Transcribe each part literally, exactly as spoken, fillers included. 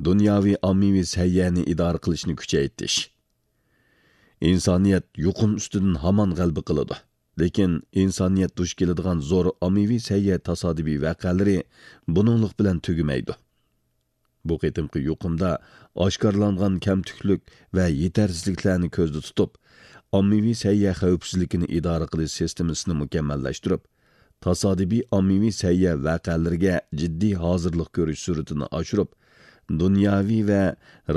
دۇنياۋى ئاممىۋى سەھىيەنى ئىدارە قىلىشنى كۈچەيتىش. ئىنسانىيەت يۇقۇم ئۈستىدىن ھامان غەلىبە قىلىدۇ. لېكىن ئىنسانىيەت دۇچ كېلىدىغان زور ئاممىۋى سەھىيە تاسادىپىي ۋەقەلىرى بۇنىڭلىق بىلەن تۈگىمەيدۇ. بۇ قېتىمقى يۇقۇمدا ئاشكارىلانغان كەمتۈكلۈك ۋە يېتەرسىزلىكلەرنى كۆزدە تۇتۇپ، ئاممىۋى سەھىيە خەۋپسىزلىكىنى ئىدارە قىلىش سىستېمىسىنى مۇكەممەللەشتۈرۈپ، تاسادىپىي ئاممىۋى سەھىيە ۋەقەلىرىگە جىددىي ھازىرلىق كۆرۈش سۈرئىتىنى ئاشۇرۇپ، دۇنياۋى ۋە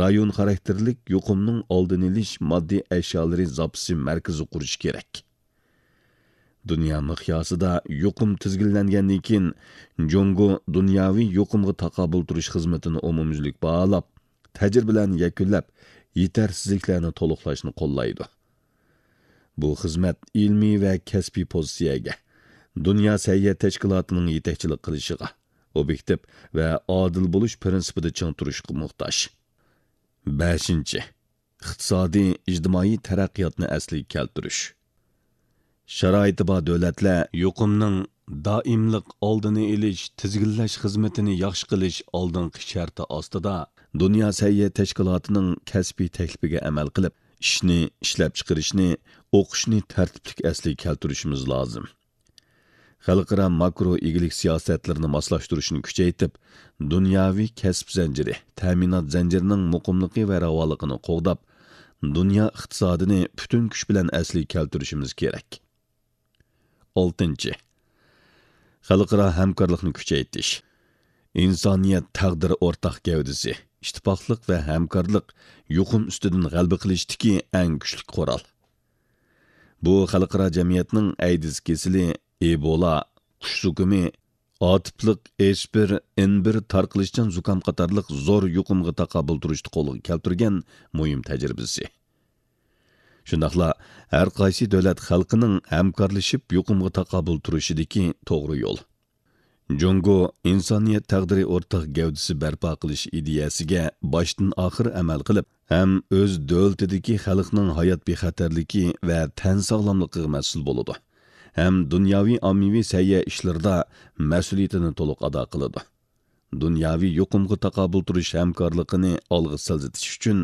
رايون خاراكتېرلىك يۇقۇمنىڭ ئالدىنى ئېلىش ماددىي ئەشيالىرى زاپىسى مەركىزى قۇرۇش كېرەك. دۇنيا مىقياسىدا يۇقۇم تىزگىنلەنگەندىن كېيىن، جۇڭگو دۇنياۋى يۇقۇمغا تاقابىل تۇرۇش خىزمىتىنى ئومۇميۈزلۈك باھالاپ، تەجرىبىلەرنى يەكۈنلەپ، يېتەرسىزلىكلەرنى تولۇقلاشنى قوللايدۇ. بۇ خىزمەت ئىلمىي ۋە كەسپىي پوزىتسىيەگە، دۇنيا سەھىيە تەشكىلاتىنىڭ يېتەكچىلىك قىلىشىغا، ئوبيېكتىپ ۋە ئادىل بولۇش پىرىنسىپىدا چىڭ تۇرۇشقا موھتاج. بەشىنچى، ئىقتىسادىي، ئىجتىمائىي تەرەققىياتنى ئەسلىگە كەلتۈرۈش. شارائىتى بار دۆلەتلەر يۇقۇمنىڭ دائىملىق ئالدىنى ئېلىش، تىزگىنلەش خىزمىتىنى ياخشى قىلىش ئالدىنقى شەرتى ئاستىدا، دۇنيا سەھىيە تەشكىلاتىنىڭ كەسپىي تەكلىپىگە ئەمەل قىلىپ، ئىشنى، ئىشلەپچىقىرىشنى، ئوقۇشنى تەرتىپلىك ئەسلىگە كەلتۈرۈشىمىز لازىم. خەلقئارا ماكرو ئىگىلىك سىياسەتلىرىنى ماسلاشتۇرۇشنى كۈچەيتىپ، دۇنياۋى كەسىپ زەنجىرى، تەمىنات زەنجىرىنىڭ مۇقىملىقى ۋە راۋانلىقىنى قوغداپ، دۇنيا ئىقتىسادىنى پۈتۈن كۈچ بىلەن ئەسلىگە كەلتۈرۈشىمىز كېرەك. ئالتىنچى، خەلقئارا ھەمكارلىقنى كۈچەيتىش. ئىنسانىيەت تەقدىرى ئورتاق گەۋدىسى، ئىتتىپاقلىق ۋە ھەمكارلىق يۇقۇم ئۈستىدىن غەلىبە قىلىشتىكى ئەڭ كۈچلۈك قورال. بۇ خەلقئارا جەمئىيەتنىڭ ئەيدىز كېسىلى، ئېبولا، قۇش زۇكىمى، ئاتىپلىق ئېچ بىر ئېن بىر تارقىلىشچان زۇكام قاتارلىق زور يۇقۇمغا تاقابىل تۇرۇشتا قولغا كەلتۈرگەن مۇھىم تەجرىبىسى. شۇنداقلا ھەر قايسى دۆلەت خەلقىنىڭ ھەمكارلىشىپ يۇقۇمغا تاقابىل تۇرۇشىدىكى توغرا يول. جۇڭگو ئىنسانىيەت تەقدىرى ئورتاق گەۋدىسى بەرپا قىلىش ئىدىيەسىگە باشتىن ئاخىر ئەمەل قىلىپ، ھەم ئۆز دۆلىتىدىكى خەلقنىڭ ھايات بىخەتەرلىكى ۋە تەن ساغلاملىقىغا مەسئۇل بولىدۇ، ھەم دۇنياۋى ئاممىۋى سەھىيە ئىشلىرىدا مەسئۇلىيىتىنى تولۇق ئادا قىلىدۇ. دۇنياۋى يۇقۇمغا تاقابىل تۇرۇش ھەمكارلىقىنى ئالغا سىلجىتىش ئۈچۈن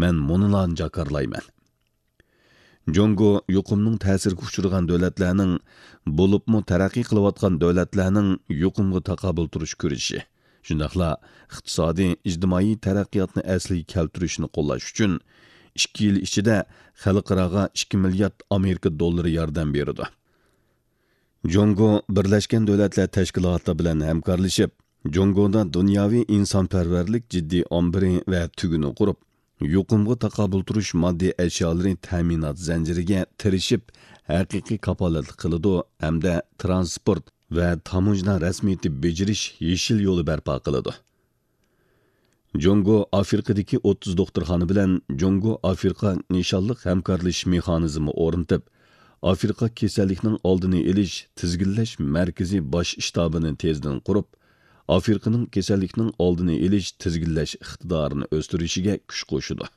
مەن مۇنۇلارنى جاكارلايمەن. جۇڭگو يۇقۇمنىڭ تەسىرىگە ئۇچرىغان دۆلەتلەرنىڭ، بولۇپمۇ تەرەققىي قىلىۋاتقان دۆلەتلەرنىڭ يۇقۇمغا تاقابىل تۇرۇش كۈرىشى، شۇنداقلا ئىقتىسادىي، ئىجتىمائىي تەرەققىياتنى ئەسلىگە كەلتۈرۈشنى قوللاش ئۈچۈن ئىككى يىل ئىچىدە خەلقئاراغا ئىككى مىليارد ئامېرىكا دوللىرى ياردەم بېرىدۇ. جۇڭگو بىرلەشكەن دۆلەتلەر تەشكىلاتى بىلەن ھەمكارلىشىپ، جۇڭگودا دۇنياۋى ئىنسانپەرۋەرلىك جىددىي ئامبىرى ۋە تۈگۈنى قۇرۇپ، يۇقۇمغا تاقابىل تۇرۇش ماددىي ئەشيالىرى تەمىنات زەنجىرىگە تىرىشىپ، ھەقىقىي كاپالەتلىك قىلىدۇ ھەمدە ترانسپورت ۋە تاموژنا رەسمىيىتى بېجىرىش يېشىل يولى بەرپا قىلىدۇ. جۇڭگو ئافرىقىدىكى ئوتتۇز دوختۇرخانا بىلەن جۇڭگو ئافرىقا نىشانلىق ھەمكارلىشىش مېخانىزمى ئورنىتىپ، ئافرىقا كېسەللىكنىڭ ئالدىنى ئېلىش تىزگىنلەش مەركىزى باش شتابىنى تېزدىن قۇرۇپ، ئافرىقىنىڭ كېسەللىكنىڭ ئالدىنى ئېلىش تىزگىنلەش ئىقتىدارىنى ئۆستۈرۈشىگە كۈچ قوشىدۇ.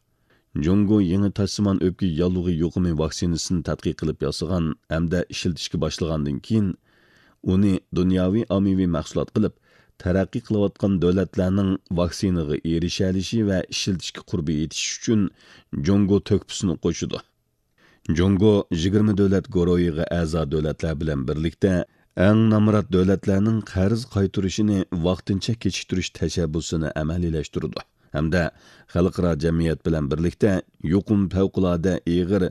جۇڭگو يېڭى تاشسىمان ئۆپكە ياللۇغى يۇقۇمى ۋاكسىنىسىنى تەتقىق قىلىپ ياسىغان ھەمدە ئىشلىتىشكە باشلىغاندىن كېيىن، ئۇنى دۇنياۋى ئاممىۋى مەھسۇلات قىلىپ، تەرەققىي قىلىۋاتقان دۆلەتلەرنىڭ ۋاكسىنىغا ئېرىشەلىشى ۋە ئىشلىتىشكە قۇربى يېتىشىشى ئۈچۈن جۇڭگو تۆھپىسىنى قوشىدۇ. جۇڭگو يىگىرمە دۆلەت گۇرۇھىغا ئەزا دۆلەتلەر بىلەن بىرلىكتە، ئەڭ نامرات دۆلەتلەرنىڭ قەرز قايتۇرۇشىنى ۋاقتىنچە كېچىكتۈرۈش تەشەببۇسىنى ئەمەلىيلەشتۈرىدۇ ھەمدە خەلقئارا جەمئىيەت بىلەن بىرلىكتە يۇقۇم پەۋقۇلئاددە ئېغىر،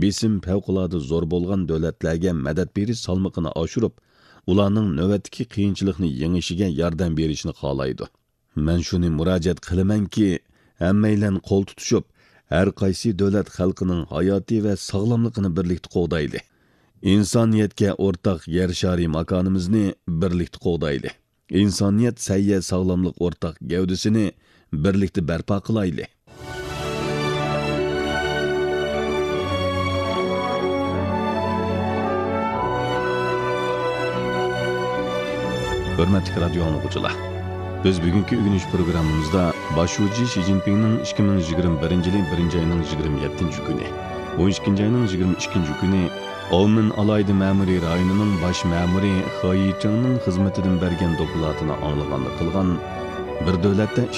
بېسىم پەۋقۇلئاددە زور بولغان دۆلەتلەرگە مەدەت بېرىش سالمىقىنى ئاشۇرۇپ، ئۇلارنىڭ نۆۋەتتىكى قىيىنچىلىقنى يېڭىشىگە ياردەم بېرىشنى خالايدۇ. مەن شۇنى مۇراجىئەت قىلىمەنكى، ھەممەيلەن قول تۇتۇشۇپ، ھەر قايسى دۆلەت خەلقىنىڭ ھاياتى ۋە ساغلاملىقىنى بىرلىكتە قوغدايلى. ئىنسانىيەتكە ئورتاق يەر شارى ماكانىمىزنى بىرلىكتە قوغدايلى. ئىنسانىيەت سەھىيە ساغلاملىق ئورتاق گەۋدىسىنى بىرلىكتە بەرپا قىلايلى. ھۆرمەتلىك رادىيو ئاڭلىغۇچىلار، بىز بۈگۈنكى ئۆگىنىش پروگراممىمىزدا باش شۇجى شى جىنپىڭنىڭ ئىككى مىڭ يىگىرمە بىرىنچى يىلى بىرىنچى ئاينىڭ يىگىرمە يەتتىنچى كۈنى، ئون ئىككىنچى ئاينىڭ يىگىرمە ئىككىنچى كۈنى ئاۋمېن ئالاھىدە مەمۇرىي رايونىنىڭ باش مەمۇرى خې يىچىڭنىڭ خىزمىتىدىن بەرگەن دوكلاتىنى ئاڭلىغاندا قىلغان، بىر دۆلەتتە ئىككى